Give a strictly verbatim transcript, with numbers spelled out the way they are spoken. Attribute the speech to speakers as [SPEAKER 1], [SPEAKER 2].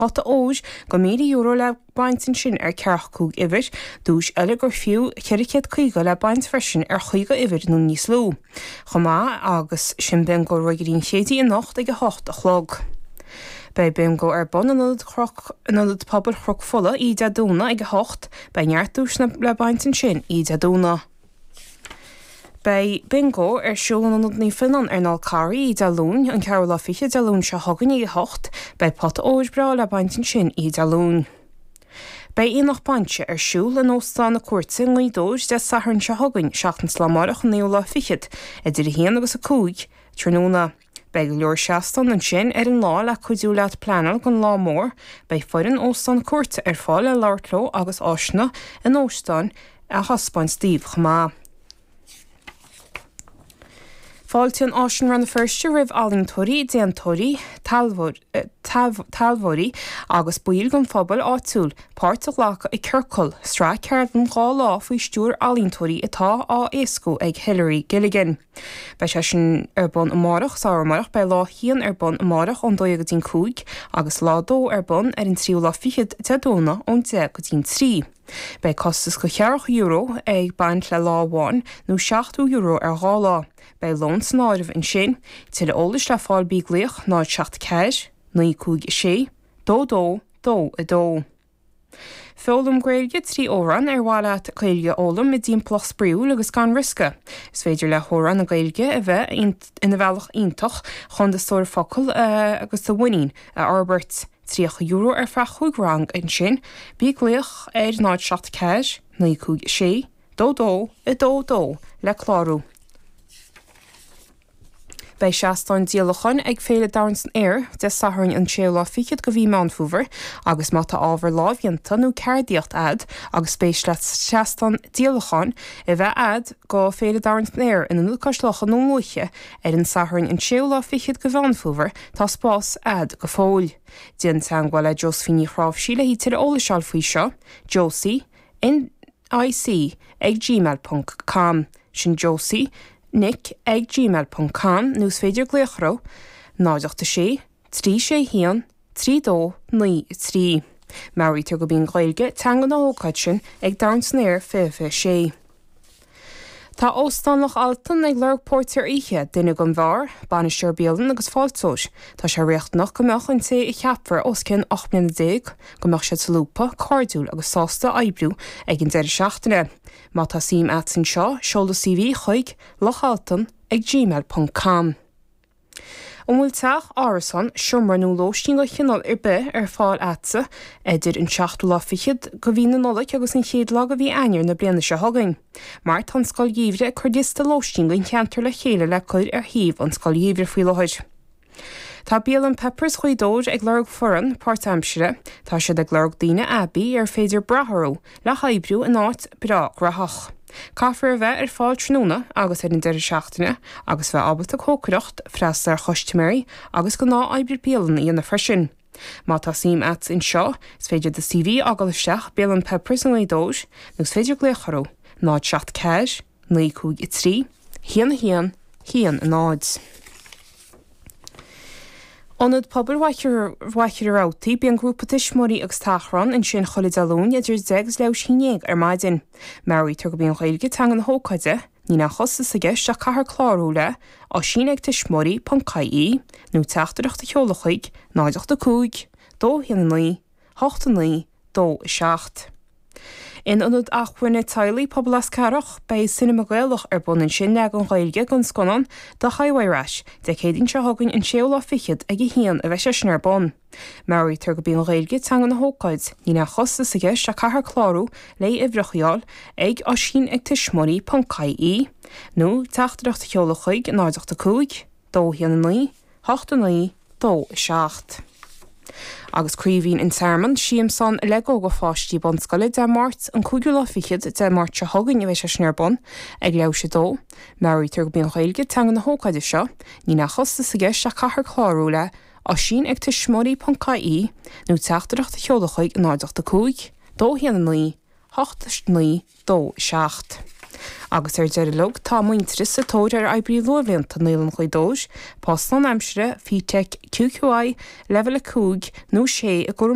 [SPEAKER 1] Pota óir go míle euro le baint ansin ar ceathracha cúig uimhir, duais eile gur fiú ceithre chéad caoga le baint freisin ar chaoga uimhir nó níos lú. Chomh maith agus sin Bingo Ruagairí an Chéididh anocht ag a hocht a chlog. Beidh Bingo ar bun in Ionad Chnoc in Ionad Pobail Chnoc Fola oíche Dé Domhnaigh ag a hocht, beidh neart duaiseanna le baint ansin oíche Dé Domhnaigh. Beidh Bingo ar siúl in Ionad Naomh Fionnán ar an Fhál Carraigh oíche Dé Luain, an ceathrú lá fichead Dé Luain seo chugainn ag a hocht. Beidh pota óir breá le baint ansin oíche Dé Luain. Beidh Aonach Bainse ar siúl in Óstán na Cúirte i nGaoth Dobhair Dé Sathairn seo chugainn, seachtain is lá amárach an naoú lá fichead, idir a haon agus a cúig tráthnóna. Beidh go leor seastán ansin ar an lá le cuidiú leat pleanáil don lá mór. Beidh foireann Óstán na Cúirte ar fáil le labhairt leo agus áiseanna an óstáin a thaispeáint daoibh chomh maith. Fáiltíonn Áislann Rann na Feirste roimh ealaíontóirí, déantóirí, taibheoirí agus baill den phobal áitiúil páirt a ghlacadh i Ciorcal, sraith ceardlann dhá lá faoi stiúir ealaíontóirí atá á éascú ag Hilary Gilligan. Beidh sé sin ar bun amárach, sár amárach, beidh lá haon ar bun amárach ón dó dhéag go dtí'n cúig agus lá dó ar bun ar an tríú lá fichead Dé Domhnaigh ón deich go dtí'n trí. Beidh costas go ceathracha euro ag baint le lá amháin nó seachtó euro ar dhá lá. Beidh lón san áireamh ansin, tuilleadh eolais le fáil bí ag glaoch náid seacht ceathair, naoi cúig a sé, dó dó, dó a dó. Foghlaim Gaeilge trí amhrán ar mhaith leat Gaeilge a fhoghlaim i dtimpeallacht spraíúil agus gan riosca. Is féidir le hamhráin na Gaeilge a bheith ina bhealach iontach chun do stór focal agus do mhuinín a fhorbairt. Tríocha euro ar feadh chúig rang ansin, bí ag glaoch ar náid seacht ceathair, naoi cúig sé, dó dó, a dó dó le clárú. Beidh seastán díolacháin ag Féile Domhain san Aer Dé Sathairn an séú lá fichead go mhí Meán Fómhair agus má tá ábhar lámhdhéanta nó ceardaíocht a'd agus spéis leat seastán díolacháin a bheith a'd go Féile Domhain san Aer in Ionad Cois Locha i nDún Lúiche ar an Satharn an séú lá fichead go Mheán Fómhair tá spás a'd go fóill. Déan teagmháil le Josephine Ní Chráimhsí le tuilleadh eolais a fháil faoi seo, Josie N I C ag gmail ponc com sin Josie Nic ag gmail ponc com nó is féidir glaoch orthu náid ocht a sé, trí sé haon, trí dó, naoi a trí. Meabhraítear gurb í an Ghaeilge teanga na hócáide sin ag Domhan san Aer fiche fiche sé. Tá Óstán Loch Altan ag lorg póirtéir oíche, duine don bheár, bainisteoir bialann agus fáilteoir. Tá sé riachtanach go mbeadh an té a cheapfar os cionn ocht mbliana déag, go mbeadh siad solúbtha, cairdiúil agus sásta oibriú ag an deireadh seachtaine. Má tá suim a't anseo, seol do C V chuig lochaltan ag gmail ponc com. An bhfuil teach, árasán, seomra nó lóistín de chineál ar bith ar fáil a'dsa idir an seachtú lá fichead go mhí na Nollag agus an chéad lá go mhí Eanáir na bliana seo chugainn? Mar tá an Scoil Gheimhridh ag cur liosta lóistín don cheantar le chéile le cur ar shuíomh an Scoil Gheimhridh faoi láthair. Tá Bialann Peppers Ghaoth Dobhair ag lorg foireann páirtaimsire. Tá siad ag lorg daoine aibí ar féidir brath orthu le hoibriú in áit breá graitheach. Caithfear a bheith ar fáil tráthnóna agus ar an deireadh seachtaine agus bheith ábalta cócaireacht, freastal ar chustaiméirí agus gnáth-oibre bialann a dhéanamh freisin. Má tá suim a't anseo, is féidir do C V a fhágáil isteach Bialann Peppers i nGaoth Dobhair nó is féidir glaoch orthu náid seacht ceathair, naoi cúig a trí, haon a haon, haon a náid. Ionad Pobail Mhachaire Rabhartaigh, bíonn grúpa tuismitheoirí agus tachrán ansin chuile Dé Luain idir deich agus leathuair tar éis a haon déag ar maidin. Meabhraítear gurb í an Ghaeilge teanga na hócáide, níl aon chostas i gceist ach caithfear clárú le oisín ag tuismitheoirí ponc I E nó teachtaireacht a sheoladh chuig náid ocht a cúig, dó haon a naoi, hocht a naoi, dó a seacht. In ionad acmhainne teaghlaigh Pobal Eascarrach, beidh Cinema Gaelach ar bun ansin leagan Gaeilge den scannán The Highway Rat, Dé Céadaoin seo chugainn an séú lá fichead ag a haon a bheidh sé sin ar bun. Meabhraítear gurb í an Ghaeilge teanga na hócáide, níl aon chostas i gceist ach caithfear clárú le uimhreacha a fháil ag oisín ag tuismitheoirí ponc I E nó teachtaireacht a sheoladh chuig náid ocht a cúig, dó haon a naoi, hocht a naoi, dó a seacht. Agus Craoibhín an Tearmann, siamsán Lego do pháistí bunscoile Dé Máirt an cúigiú lá fichead Dé Máirt seo chugainn a bheidh sé sin ar bun ag leathuair tar éis a dó. Meabhraítear gurb í an Ghaeilge teanga na hócáide seo, níl aon chostas i gceist ach caithfear clárú le oisín ag tuismitheoirí ponc I E nó teachtaireacht a sheoladh chuig náid ocht a cúig, dó haon a naoi, hocht naoi, dó seacht. Agus ar deireadh log tá Muintearas sa tóir ar oibrí luathbhlianta Naíolann Ghaoth Dobhair, post lánaimseartha, FETEC, QQI, Leibhéal a cúig nó sé i gcúram